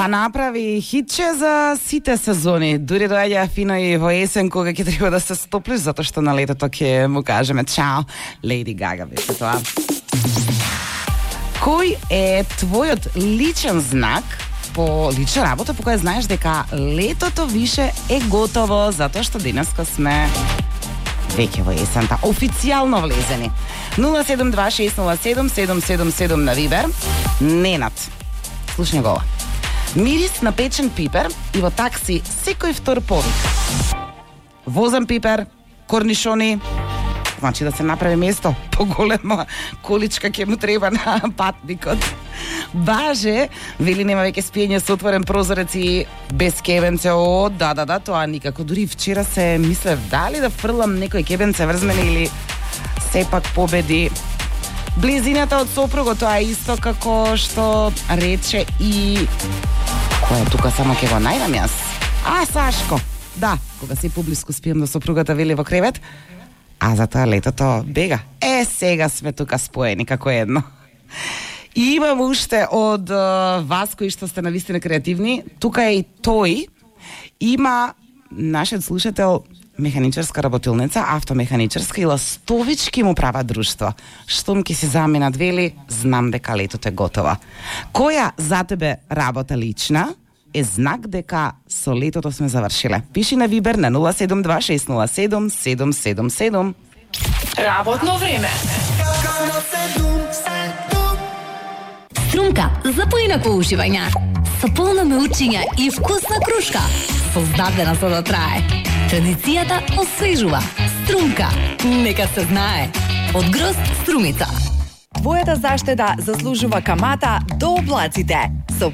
Па направи хитче за сите сезони. Дури доаѓа фино и во есен кога ќе треба да се стоплиш, затоа што на летото ќе му кажеме чао, Леди Гага беше тоа. Кој е твојот личен знак по лична работа по која знаеш дека летото више е готово, затоа што денеска сме веќе во есента, официјално влезени. 072607777 на Вибер. Ненад, слушај го. Мирис на печен пипер и во такси секој втор повик. Возен пипер, корнишони, значи да се направи место, поголема количка ќе му треба на патникот. Баже, вели нема веќе спиење со отворен прозорец и без кебенце. О, да, тоа никако. Дури вчера се мислев дали да фрлам некој кебенце врз мене или сепак победи близината од сопругот. Тоа е исто како што рече и кој е тука, само ќе го најдам јас. Сашко. Да, кога си поблиску спием до сопругата, вели во кревет, а затоа летото бега. Сега сме тука споени како едно. И имам уште од вас кои што сте навистина креативни. Тука е и тој. Има нашиот слушател механичарска работилница, автомеханичарска и ластовички му прават друштво. Штом ќе си заминат, вели, знам дека летото е готова. Која за тебе работа лична е знак дека со летото сме завршиле? Пиши на Вибер на 072607777. Работно време. Струмка за поинако уживање. Со полно меучиња и вкусна крушка. Создадена за да трае. Традицијата освежува. Струмка. Нека се знае. Од Грозд Струмица. Твојата заштеда заслужува камата до облаците. Со